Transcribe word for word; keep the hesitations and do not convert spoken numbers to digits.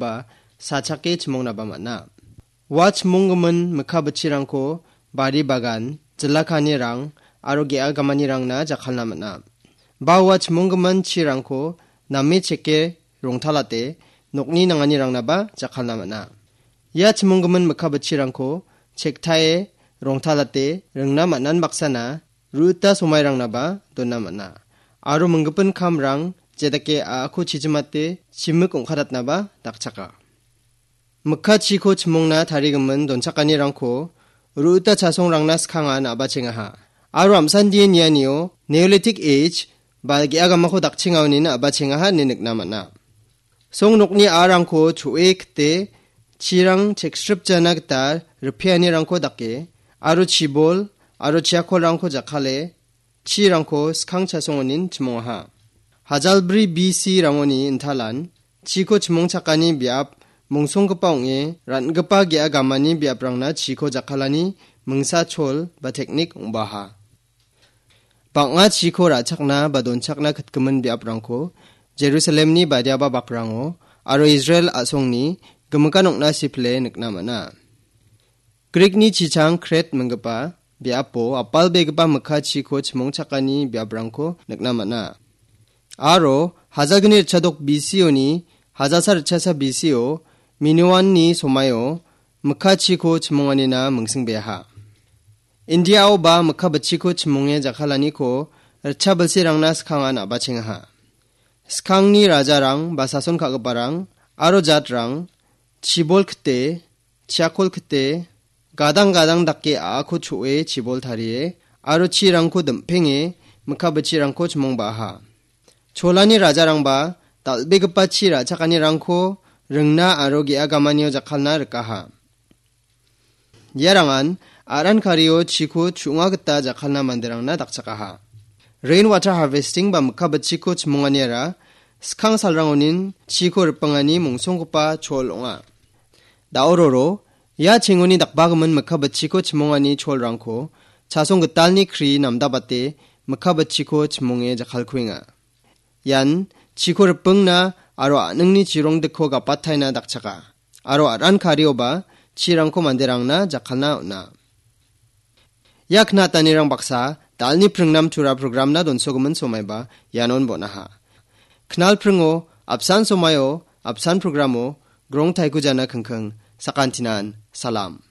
ba sachake chimongnaba man·a. Ua chimonggimin mikka bitchirangko bari bagan, jila ka·anirang aro ge·a gamanirangna jakkalna man·a. Ba ua chimonggimin chirangko name cheke rongtalate nokni nanganirangnaba jakkalna man·a. Ia chimonggimin mikka bitchirangko chektae rongtalate ringna man·an baksana ru·ita somairangnaba dona man·a. Aro minggipin kamrang jedake a·ako chijimate chimik ong·katatnaba dakchaka. Mikka chiko chimongna tarigimin donchakanirangko ru·ita chasongrangna skangan a·bachengaha. Aro amsandie nianio Neolithic Age ba ge·a gamako dakchengaonin a·bachengaha ine nikna man·a. Song nokni a·rangko cho·e kite chirang cheksripjana gita ripeanirangko dake aro chibol aro chiakolrangko jakkale chirangko skang chasongonin chimongaha. Hajalbri B C rangoni intalan chiko chimongchakani biap mongsonggipa ong·e ran·gipa ge·a gamani biaprangna chiko jakkalani mingsa chol ba teknik ong·baha. Bang·a chiko ra·chakna ba donchakna kitgimin biaprangko Jerusalemni badiaba bakrango aro Israel a·songni gimikan ong·na sipile nikna man·a. Grikni chichang Kret minggipa biapo apalbegipa mikka chiko chimongchakani biaprangko nikna man·a. Aro hajalgni ritchadok B C O-ni hajalsa ritchasa B C O Minoanni somaio mikka chiko chimonganina mingsingbeaha. Indiao ba mikka bitchiko chimonge jakkalaniko ritcha bilsirangna skangan a·bachengaha. Skangni rajarang ba sason ka·giparang aro jatrang chibol kite, chiakol kite, gadang gadang dake a·ako cho·e chibol tarie aro chirangko dim·penge mikka bitchirangko chimongbaha. Cholani rajarangba dal·begipa chi ra·chakanirangko ringna aro ge·a gamanio jakkalna rikaha. Iarangan aran kario chiko chu·nga gita jakkalna manderangna dakchakaha. Rain water harvesting ba mikka bitchiko chimonganiara skang salrangonin chiko ripengani mongsonggipa chol ong·a. Daororo, ia chengoni dakbagimin mikka bitchiko chimongani cholrangko chasong gitalni kri namdabate mikka bitchiko chimonge jakkalkuenga. Ian chiko ripengna aro a·ningni chirongdikko gapataina dakchaka. Aro aran karioba chirangko manderangna jakkalna on·a. Ia knatanirang baksa dalni pringnam tura programna donsogimin somaiba ianon bon·aha. Knal pringo apsan somaio apsan programo grong taikujana kingking sakantinan salam.